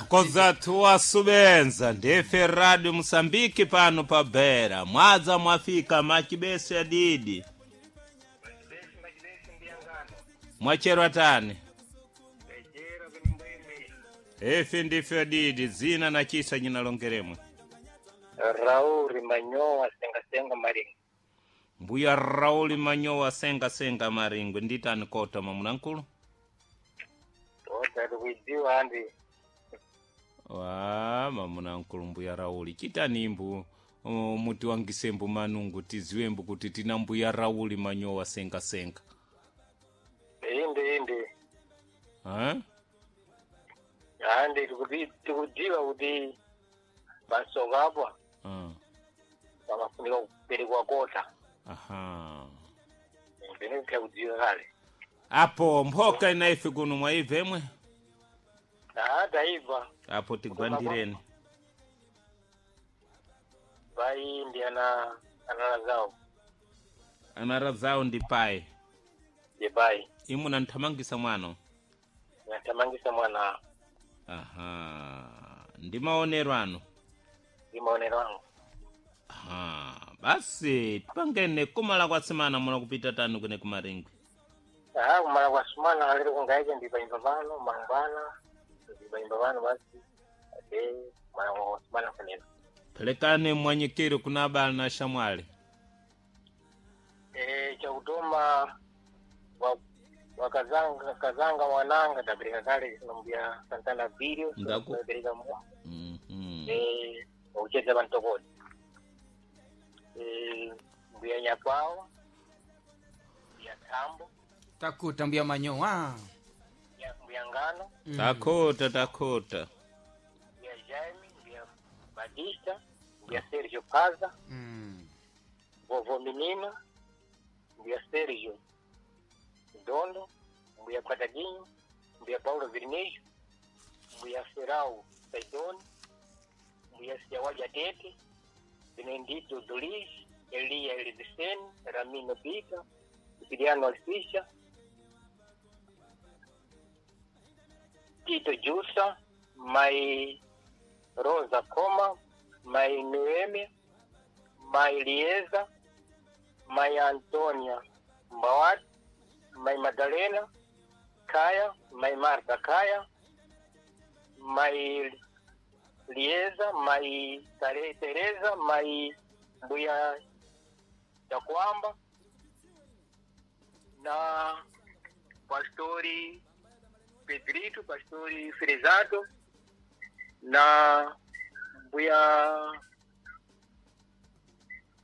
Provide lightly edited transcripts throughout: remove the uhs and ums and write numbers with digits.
Kozathu wasubenza ndife Radio Mosambiki pano pa Beira. Mwadza mwafika machibese adidi. Mwacherwa tani. Efe ndife adidi zina na chisa nyinalongeremwe. Rauli Manyowa senga senga Maringo. Mbuya Rauli Manyowa senga senga Maringwe nditani kota mamunankulu. Tota tikuidziwa andi. Wa mamunankulu mbuya Rauli chitani imbu mutiwangisembu manungu tiziwembu kuti tina mbuya Rauli Manyowa senga senga. Inde inde. Ha? Andi tikudziwa kuti pasoko apo pamafunika kuperekwa kota. Aha. Pene kudziwa kale. Apo mphoka inaife kuno mwaibvemwe Ah, taibva. apo tigwandireni. Pai ndi ana anala zawo. Anara zawo ndi pai. Ye pai. Imwe nanthamangisa mwano. Nathamangisa mwana Aha. Ndi maonero ano. ndi maonero angu. Aha. Basi tipangene kumala kwa simana muna kupita tanu kune kumaringwe. Ah, kumala kwa sumana alero kungaike ndi paimba pano mangwana ndi paimba pano basi. Ate kumala kwa sumana kunena. Pelekane mwanyikiro kuna abale na shamwali. Chakutoma wakazanga kazanga mwananga tapereka kale nombuya Santana video Ndaku. tapereka mwa Mhm. wakucheza pantokoni mbuya Nyakwawa mbuya Thambo Takuta mbuya Manyowa. mbuya Ngano Takota takota. mbuya Jaime mbuya Batista mbuya Sergio Paza vovo Menino mbuya Sergio Dondo mbuya Quadradinho mbuya Paulo Vermelho mbuya Ferau Saidoni mbuya Siawaja Tete Benedito Dolis Elia Elevicene Ramino Pita Siciliano Alfisha Tito Jussa Mai Rosa Coma Mai Noemia Mai Lieza Mai Antonia Mbawati Mai Madalena Kaya Mai Marta Kaya Mai Lieza Mai Tereza Mai Mbuya Chakwamba na Pastori Pedrito, Pastori Frezato na Mbuya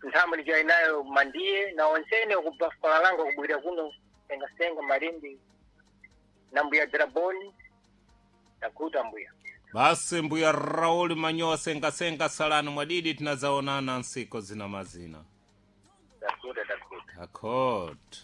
nthambo ndichayi nayo mandiye na onsene kubva falalanga kubwira kuno sengasenga malindi na mbuya draboni takuta mbuya. Basi mbuya Rauli Manyowa senga senga salani mwadidi tinazaonana nsiko zina mazina. Takuta takuta. Takota.